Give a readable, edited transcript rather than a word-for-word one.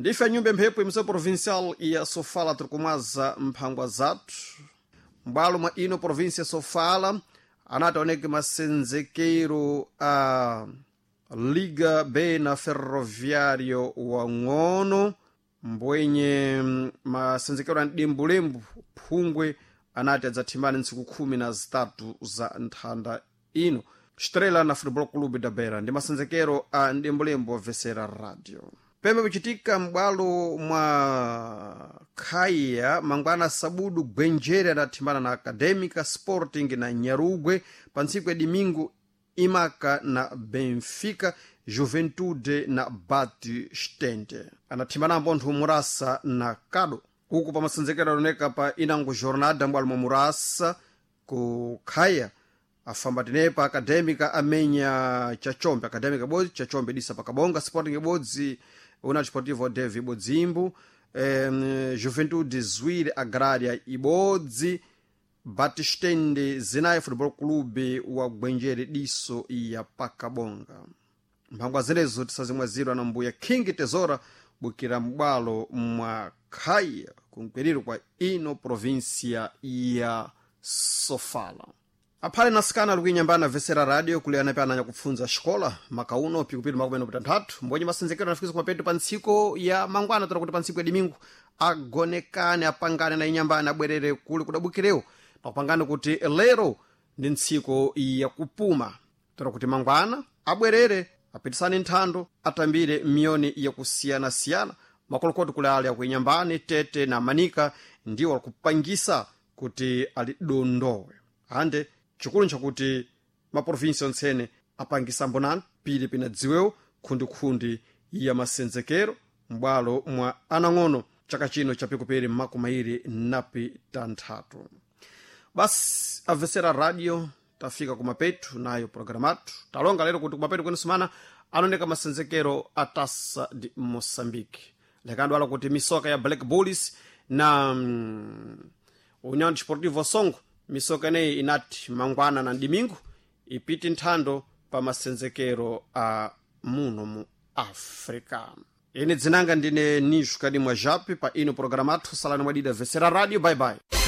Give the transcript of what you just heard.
Ndife nyumba mphepo imso provincial ya Sofala tirikumwaza mphangwa zathu m'bwalo mwa ino província Sofala anati aoneke masenzekero a Liga B na Ferroviário wang'ono mbwenye masenzekero a mdimbulembu phungwe anati adzathimbane ntsiku 13 za nthanda ino. Estrela na Futebol Clube da Beira ndi masenzekero a mdimbulembu obvesera radio. Pembe kuchitika m'bwalo mwa khaya mangwana sabudu gwenjere adathimbana na Acadêmica Sporting na Nyarugwe pa ntsiku ya domingo Imaka na Benfica, Juventude na Batistente anathimbana mpontho Murasa na Kado. Uku pamasenzekero adoneka pa inango jornada m'bwalo mwa Murasa ku khaya afamba tenepa Acadêmica amenya Chachombe, Acadêmica ibodzi Chachombe disa pakabonga, Sporting ibodzi União Desportivo Dev ibodzimbu, Juventude Zwire Agrária ibodzi, Batistende zinayi Futebol Clube wa Gwenjere diso ya pakabonga. Mphangwa zenezo tisazimwazirwa na mbuya King Tesora bukira m'bwalo mwa khaya kumkwiriro kwa ino província ya Sofala. Aphale nasikana ali kuinyambana vesera radio kule anape ananya kupfunza xikola makauno pikupiri makumi pitanthatu mbonye masenzekero anafikisa kumapeto pa ntsiko ya mangwana tola kuti pa ntsiko ya domingo agonekane apangane na inyambana abwerere kule kudabukirewo pakupangane kuti lero ndi ntsiko yakupuma tola kuti mangwana abwerere apitisane nthando atambire miyoni yakusiyanasiyana makolokoti kule ali akuinyambani tete na manika ndiwo alikupangisa kuti alidondowe ande chikulu nchakuti maprovinsi ontsene apangisa mbonani pili pinadziwewo khundikhundi ya masenzekero m'bwalo mwa anang'ono chaka chino chapikupiri makumairi napi tanthatu. Basi amvesera radio tafika kumapetu nayo programu athu talonga lero kuti kumapetu kwene sumana anaoneka masenzekero a Taça de Moçambique lekadwala kuti misoka ya Black Bulls na União Desportivo Songo misoka ineyi inati mangwana na domingo ipite nthando pa masenzekero a muno mu Africa. Ine dzinanga ndine Nisho Kadimwa Jape pa ino programu athu salani mwadida vesera radio. Bye bye.